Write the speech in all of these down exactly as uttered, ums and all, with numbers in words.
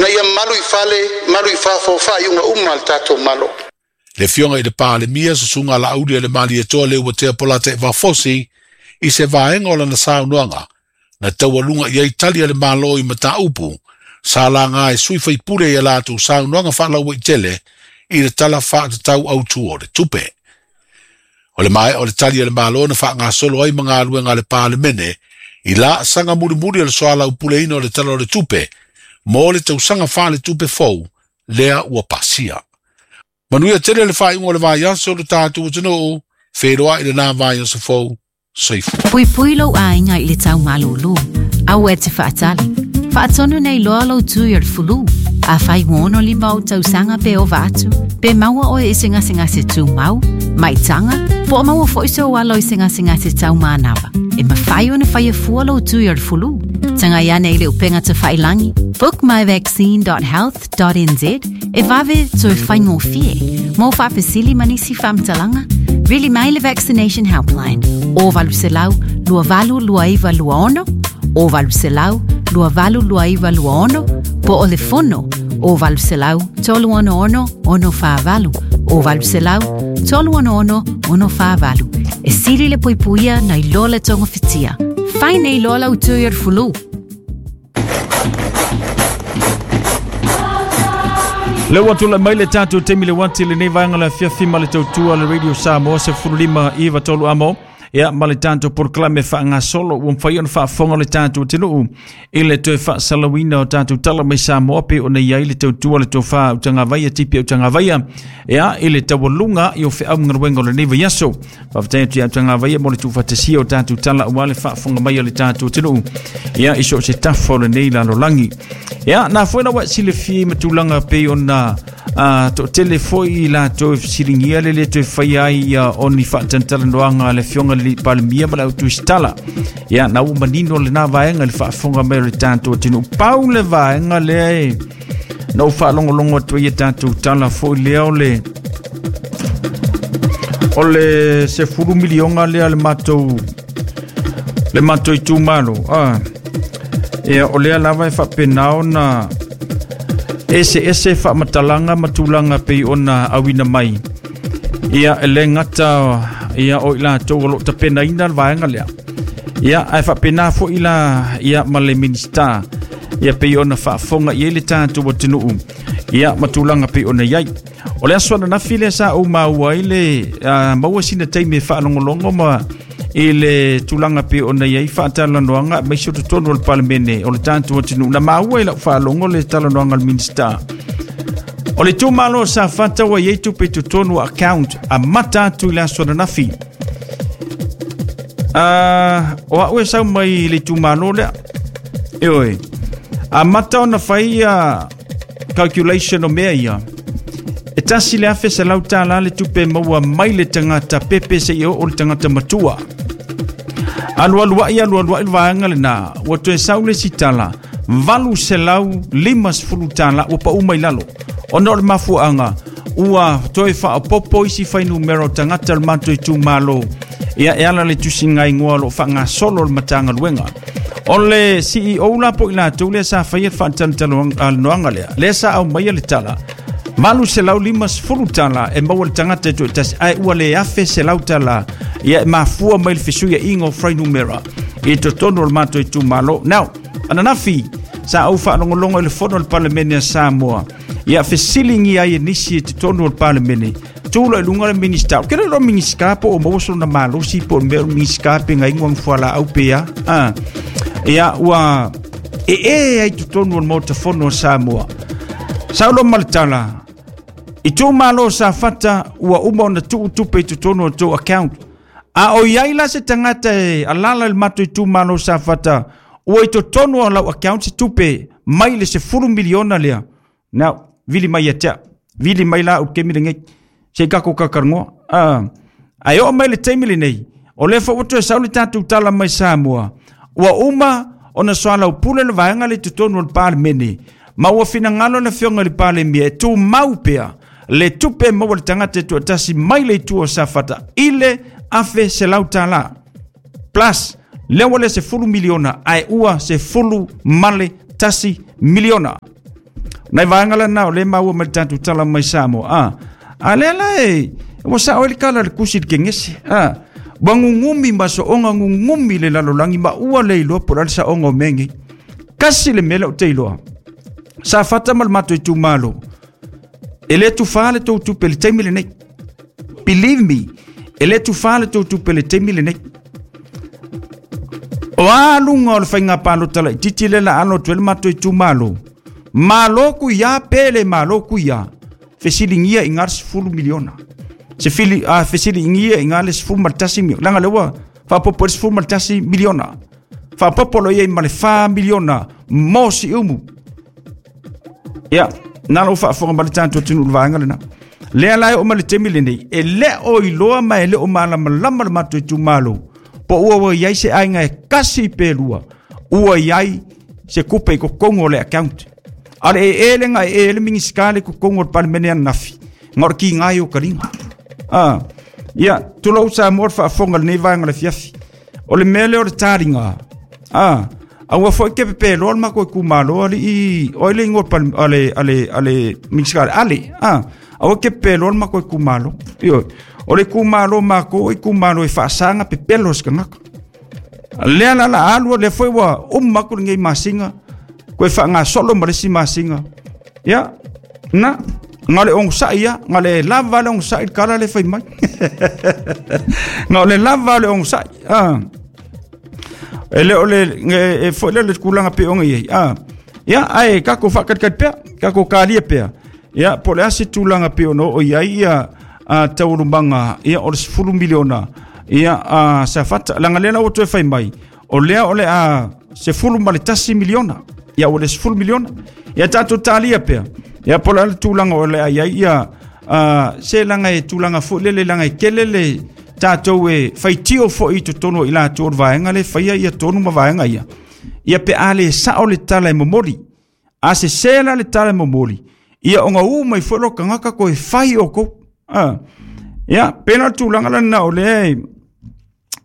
Ina ia malu i fale, malu i fafo, faaiuga uma a le tatou Malo. Le Afioga i le Palemia, Susuga Laauli a le Malietoa Leuatea Polataivao Fosi, i se vaega o lana saunoaga, na taualuga i ai tali a le Malo i mataupu, sa laga e sui faipule i a latou saunoaga faalauaitele i le Tala Faatatau Autu o le Tupe. O le maea o le tali a le Malo na faagasolo ai ma galuega a le Palemene i laasaga mulimuli o le soalaupuleina o le Tala o le Tupe mo le tausaga faaletupe fou lea ua pasia. Manuia tele le faaiuga o le vaiaso o le tatou atunuu, feiloai lena vaiaso fou. Soifua. Puipui lou aiga i le tau malūlū. Aua e te faatali. Faatonu nei loa lou tui o le fulu. Afai ua ono lima ou tausaga pe ova atu, pe maua oe i se gasegase tumau, maitaga, po o maua foi sou alo i se gasegase taumanava. E mafai ona faia fua lou tui o le fulu. Tagai ane i le upega tafailagi, book my vaccine dot health dot n z, e vave toe faigofie. Mo faafesili ma nisi faamatalaga, vili mai le Vaccination Helpline, o valu selau, lua valu lua iva lua ono, o valu selau, lua valu lua iva lua ono, po o le fono, o valu selau, tolu ono ono, ono whaavalu, o valu selau, tolu ono ono, ono whaavalu. E sili le puipuia nai loa le tonga whitia. Fai nei loa lau tui o le fulu. Le ua tula mai le tatou taimi le wati lenei vaega le afiafi ma le tautua le Radio Samoa sefulu lima iva tolu amo. Ia ma le tatou polokalame faagasolo ua mafai ona faafofoga le tatou atunuu i le toe faasalauina o tatou tala mai Samoa pe ona i ai le tautua le tofā utagavaia tipi utagavaia ia i le taualuga i o feaugaluega o lenei vaiaso. Faafetai atu ia utagavaia mo le tuufaatasia o tatou tala aua le faafofoga mai o le tatou atunuu ia i so o se tafa o lenei lalolagi. Ia na foi lau silafia ma tulaga pei ona a toatele foi i latou e fesiligia le le toe faia ai ia o ni faatalanoaga a le Afioga i le Palemia ma le autuisitala. Ia na ua manino lena vaega i le faafofoga mai o le tatou atunuu. Pau le vaega lea e na ou faalogologo atu ai ia tatou tala foi lea o le o le sefulu milioga lea le matou le matou itumalo. Ah, ia o lea lava e faapena ona ese ese faamatalaga ma tulaga pei ona auina mai. Ia e le gata ia o i latou o loo tapenaina le vaega lea. Ia ae faapena foi la ia ma le Minista ia pei ona faafofoga i ai le tatou atunuu ia ma tulaga pei ona i ai. O le aso ananafi lea sa ou maua ai le uh, maua sina taimi e faalogologo ma i le tulaga pei ona i ai faatalanoaga aemaise o totonu o le Palemene o le tatou atunuu. Na maua i lau faalogo le talanoaga a le Minista. O le itumalo o Safata ua i ai tupe i totonu o account amata atu i le aso ananafi. Uh, o au e sau mai i le itumalo lea. E oe, amata ona fai ia calculation o mea ia. E tasi le afe selau tālā le tupe maua mai le tagata pepe seia oo le tagata matua. Alualuai alualuai le vaega lena, ua toe sau le isi tala, valu selau lima sefulu tālā ua pau mai lalo. Ona o le mafuaaga, ua toe faaopopo isi fuainumera o tagata o le matou itumalo. Ia e ala le tusiga igoa o loo faagasolo le Matagaluega. O le C E O la po i latou lea sa faia le faatalanoaga lea, lea sa aumaia le tala, valu selau lima sefulu tālā e maua le tagata e toatasi, ae ua le afe selau tālā ia e mafua mai le fesuiaiga o fuainumera i totonu o le matou itumalo. Now, ananafi sa ou faalogologo i le fono o le Palemene a Samoa ia fesiligia ai e nisi i totonu o le Palemene tu lo i luga le Minista. O ke le lo Minista po o maua sona malosi po o le mea o le Minista pe ngai nguang fuala au pe ia. Ah. Ia ua e e ai totonu o le Maota Fono o Samoa. Saulo ma le tala, i itumalo o Safata ua uma ona tuutupe i totonu o tou account. A o iai la se tagata e alala i le matou itumalo o Safata, ua i totonu o lau account se tupe mai le sefulu miliona lea. Now, vili mai ia te au. Vili mai la au kemi lenei. Se kako kakarangoa. Ah, ae oo mai le taimi lenei, o lea foi ua toe sau le tatou tala mai Samoa. Ua uma ona soalaupule le vaega le totonu o le Palemene. Ma ua finagalo le Afioga i le Palemia e tumau pea le tupe maua le tagata e toatasi mai le itu o Safata i le afe selau tālā. Plus, lea ua le sefulu miliona ae ua sefulu ma le tasi miliona. Nai vaega lena o lea maua mai le tatou tala mai Samoa a a lea la e ua sao ai le kala le kusi le kegese a ua gugumi ma so'oga gugumi le lalolagi ma ua le iloa po o le a le sa'oga o mea nei kasi le mea lea ou te iloa sa fata ma le matou itumalo e lē tufā le tou tupe le taimi lenei. Believe me, e lē tufā le tou tupe le taimi lenei. O a luga o le faiga palota laitiiti le la alo atu ai le matou itumalo malo kuiā pe le malo kuiā fesiligia i gā le sefulu miliona se fili a fesiligia i gā le sefulu ma le tasi miliona laga le ua faapopo ai le sefulu ma le tasi miliona faapopo lo iai ma le fa miliona mo siumu. Ia na lou faafofoga ma le tatou atunuu le vaega lena lea la e oo mai le taimi lenei e le o iloa ma e le o malamalama le matou itumalo po ua ua iai se aiga e kasi pe lua ua iai se kupe i totonu o le account a le e e lega e e le minisita le totonu o le palemene ananafi ga o le kigai o kaliga a ia tulou Samoa le faafofoga lenei vaega le fiafi o le mea lea o le taliga a aua foi ke pepeloa le matou itumalo alii o le igoa ale ale ale minisita ale a aua ke pepeloa le matou itumalo ioe o le itumalo makou o itumalo e faasaga pepelo se tagata lea la la alu lea foi ua uma atu lenei masina koe faagasolo ma le isi masina ia na ga le ogosa'i ia ga le lava le ogosa'i le kala le fai mai ga o le lava le ogosa'i a e le o le e foi le le tulaga pe ona iai a ia ae tatou faakalikali pea tatou kalia pea ia po o le a se tulaga pe ona oo iai ia a taualumaga ia o le sefulu miliona ia a Safata laga lea la ua toe fai mai o lea o le a sefulu ma le tasi miliona ia ua le sefulu miliona ia tatou talia pea ia po o le a le tulaga o le a iai ia a se laga e tulaga foi lele laga e tele le tatou e faitio foi i totonu o i latou o le vaega le faia ia tonu ma vaega ia ia pe a le sa'o le tala e momoli a sesē la le tala e momoli ia ona u mai foi lo tagata koe fai o kou a ia pena le tulaga lena o lea e,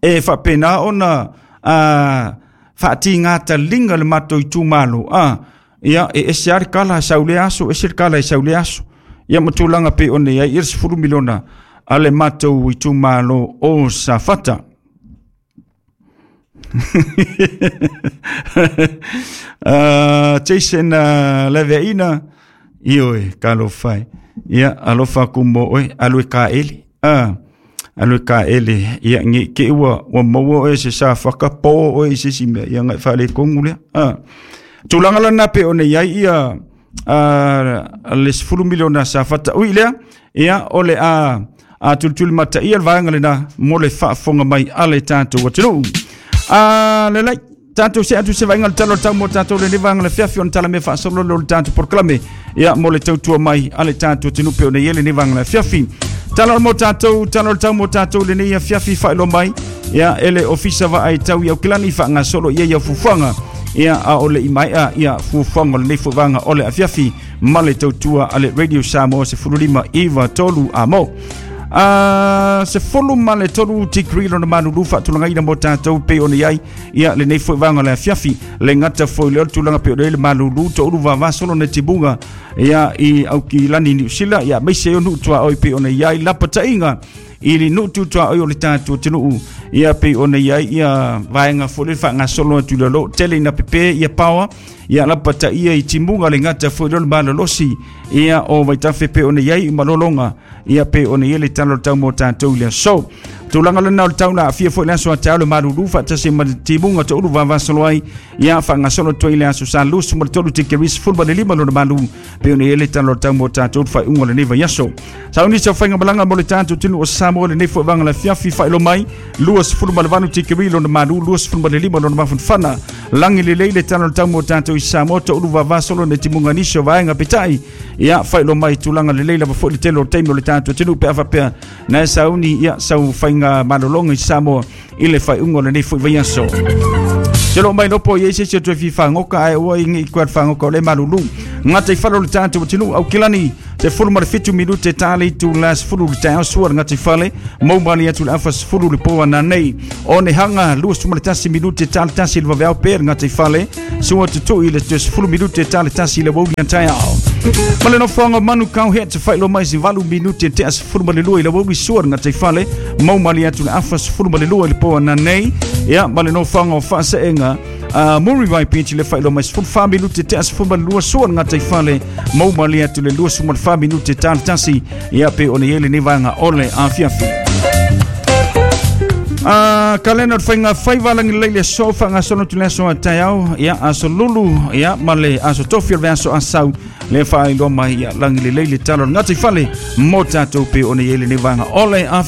e faapena ona a faatigātaliga le matou itumalo a ia e ese a le kala sau le aso ese le kala e sau le aso ia ma tulaga pei ona iai ia le sefulu miliona a le matou itumalo o Safata. uh, Jason uh, Leveaina ioe kalofai ia alofa aku mo oe alu e kaele a alu e kaele ia nge ke ua ua maua oe se sa whakapo oe i se isi mea ia ngai whaalekongu lea a tulaga lana pe ona iai ia a le sefulu miliona Safata ui lea ia o le a a tulituli mataia le vaega lena mo le faafofoga mai a le tatou atunuu a lelei tatou se atu se vaaiga le tala o le tau mo tatou lenei vaega le fiafi ona tala mea faasolo le o le tatou polokalame ia mo le tautua mai a le tatou atunuu pe ona i ai lenei vaega le fiafi tala o mo tatou tala o le tau mo tatou lenei afiafi faailoa mai ia e le ofisa vaai tau i Aukilani faagasolo ia ia fuafuaga ia a o le imaea ia fuafuaga o lenei fuafuaga o le afiafi ma le tautua a le Radio Samoa sefulu lima iva tolu a mo a sefulu ma le tolu tikri lona malulu faatulagaina mo tatou pei ona iai ia lenei foi vaega o le afiafi le gata foi lea o le tulaga pei ona iai le malulu toulu vavasolo na timuga ia i Aukilani Niu Sila ia maise o nuu tuaoi pei ona iai lapataiga i le nuu tutuaoi o le tatou atunuu ia pei ona iai ia vaega foi le faagasolo atu i lalo tele ina pepe ia paoa ia lapataia i timuga le gata foi lea o le malolosi ia o Vaitafe pe ona iai malologa ia pe ona iai le tala o le tau mo tatou i le aso tulaga lena o le tau la afia foi le aso a le malulu faatasi ma le timuga toulu vavasolo ai ia faagasolo atu ai le aso sa lusu ma le tolu tikeri sefulu ma le lima lona malu pe ona iai le tala o le tau mo tatou le faaiuga o lenei vaiaso sauni sa faiga malaga mo le tatou atunuu o Samoa lenei foi vaega le afiafi faailoa mai lua sefulu ma le valu tikeri lona malu lua sefulu ma le lima lona mafanafana lagi lelei le tala o le tau mo tatou i Samoa toulu vavasolo na timuga nisi o vaega peitai ia faailoa mai tulaga lelei lava foi le tele o le taimi o le tatou atunuu pe a faapea na e sauni ia sau faiga malologa i Samoa i le faaiuga o lenei foi vaiaso. Te lo mai lopo i se se toe fi whangoka ai ua ingi i kua whangoka o le malulu. Ngata i whalo le tātou atunuu Aukilani te fulu ma le fitu minute tāle i tu la sefulu le taeao sua le ngata i fale mau mali atu le afa sefulu le poa na nei. O ne hanga luasu ma le tasi minute tāle tasi le vaveao pe le ngata i fale sua tutui le te sefulu minute tāle tasi le wauli an taeao. Ma le nofoaga o Manukau he te faailoa mai se valu minute e tea sefulu ma le lua i le aoauli sua le gataifale mau malie atu le afa sefulu ma le lua i le po ananei. Ia ma le nofoaga o Faaseega uh, Muriwai Beach le faailoa mai sefulu fa minute tea sefulu ma le lua sua le gataifale mau malie atu le lua ma le fa minute ta le tasi. Ia pe ona i ai lenei vaega o le afiafi. Uh, kalena o le faiga faiva lagi lelei le aso faagasolo atu le aso a taeao ia aso lulu ia ma le aso tofi o le aso asau le faailoa mai ia lagi lelei le tala o le gataifale mo tatou pe ona i ai lenei vaega o le afiafi.